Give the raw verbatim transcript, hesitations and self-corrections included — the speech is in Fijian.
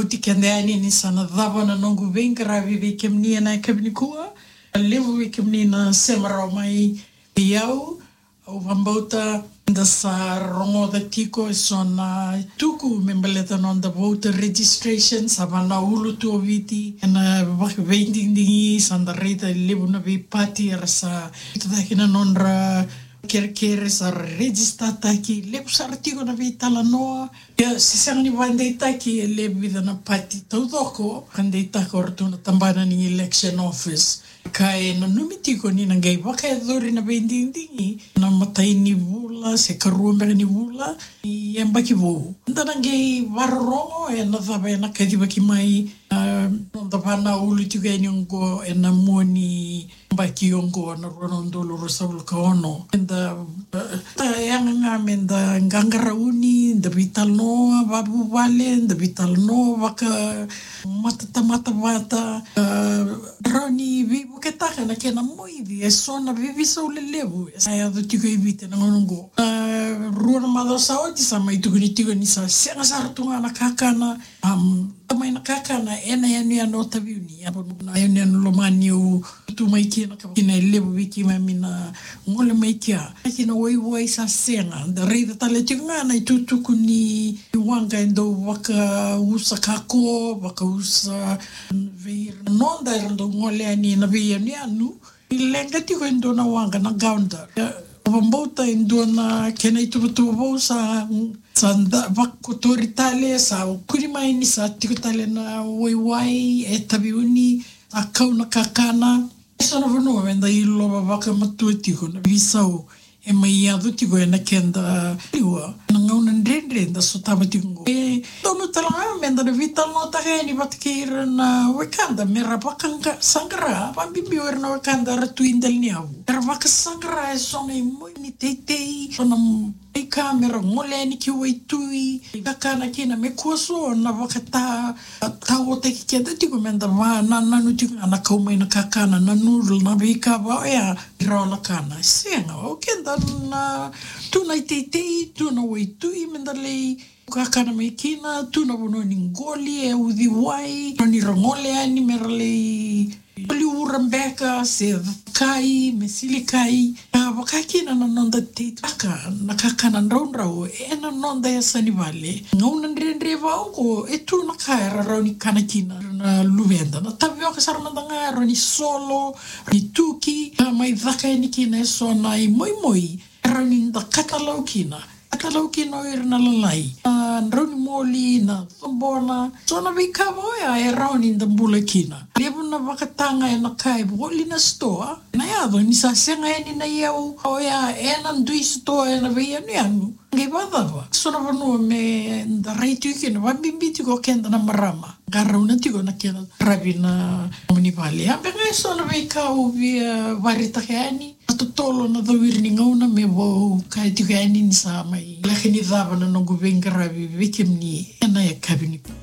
Oti keda yani ni sa na cava na noqu veiqaravi vei kemuni ena yakavi nikua. Levu vei kemuni na sema rawa mai vei au. Au vakabauta da sa rogoca tiko eso na tuku me baleta noda voter registration, sa va na ulu tu o Viti ena vaka veidigidigi, sa da raica e levu na veipati era sa tucake na nodra kerekere, sa register taki, levu sara tiko na veitalanoa. Ia, se sega ni vakadeitaki e levu vica na pati taucoko, vakadeitaka o ratou na tabana ni election office. Ka e nanumi tiko ni na qai vakayacori na veidigidigi na matai ni vula se karua beka ni vula ni yabaki vou. Da na qai vakarorogo ena cava ena kacivaki mai, a, noda va na ulu tiko yani oqo ena mua ni yabaki oqo na rua na udolu ruasagavulu ka ono. Eda, e, ta yaga ga meda qaqarauni, da veitalanoa vakavuvale, da veitalanoa vaka matatamata vata, a, rawa ni veivuketaka na kena moici eso na veiveisau lelevu e sa yaco tiko e Viti ena gauna oqo. A, rua na macawa sa oti sa mai tukuni tiko ni sa sega sara tu ga na kakana, am, mai na kakana ena yanuyanu o Taveuni, a, na yanuyanu lomani au tu mai kina, ka kina e levu vei keimami na gole mai kea. Kina waiwai sa sega, da raica tale tiko ga na itukutuku ni waqa e dau vakausa kako, vakausa vei ira na noda era dau gole yani na veiyanuyanu. E leqa tiko e dua na waqa na Gaunda. Ia, au vakabauta e dua na kena ituvatuva vou sa, sa da vakotori tale, sa kune mai ni sa tiko tale na waiwai e Taveuni, sa kau na kakana. Eso na vanua meda ilova vakamatua tiko na veisau e mai yaco tiko ena keda liwa ena gauna dredre da sotava tiko oqo. E donu tale ga meda na veitalanoataka yani vata kei ira na wekada mera vakasaqara, vakabibi o ira na wekada era tu i dela ni yavu. Era vakasaqara eso na imoici ni teitei, eso na veika mera gole yani ki waitui, kakana kina me kua so na vakata, taotaki keda tiko meda vanananu tiko ga na kau mai na kakana, na noodle, na veika va oya, rawa na kana. Sega, o keda na tu na iteitei, tu na waitui meda lai kakana mai kina, tu na vanua ni qoli e uciwai, rawa ni ra gole yani mera lai qoli ura beka se kai, me silikai. A, vaka kina na noda teitaka na kakana draudrau ena noda yasa ni vale. Gauna dredre vaka oqo e tu na ka era rawa ni kana kina na luveda. Na tavioka sara mada ga e rawa ni solo, ni tuki, ka mai caka yani kina eso na imoimoi e rawa ni da katalau kina. Katalau kina o ira na lalai. Na drau ni moli, na cobona. So na veika va oya e rawa ni da bula kina. Levu na vakataga ena ka e voli na sitoa. Na yaco ni sa sega yani na iyau oya ena dui sitoa ena veiyanuyanu. Qai vakacava? So na vanua meda rai tiko kina, vakabibi tiko o keda na marama. Qarauna tiko na kena ravi na nomuni vale. A, beka eso na veika au via vakaraitaka yani. Na totolo na cawiri ni gauna me vau kaya tiko yani ni sa mai laki ni cava na noqu veiqaravi vei kemuni ena yakavi nikua.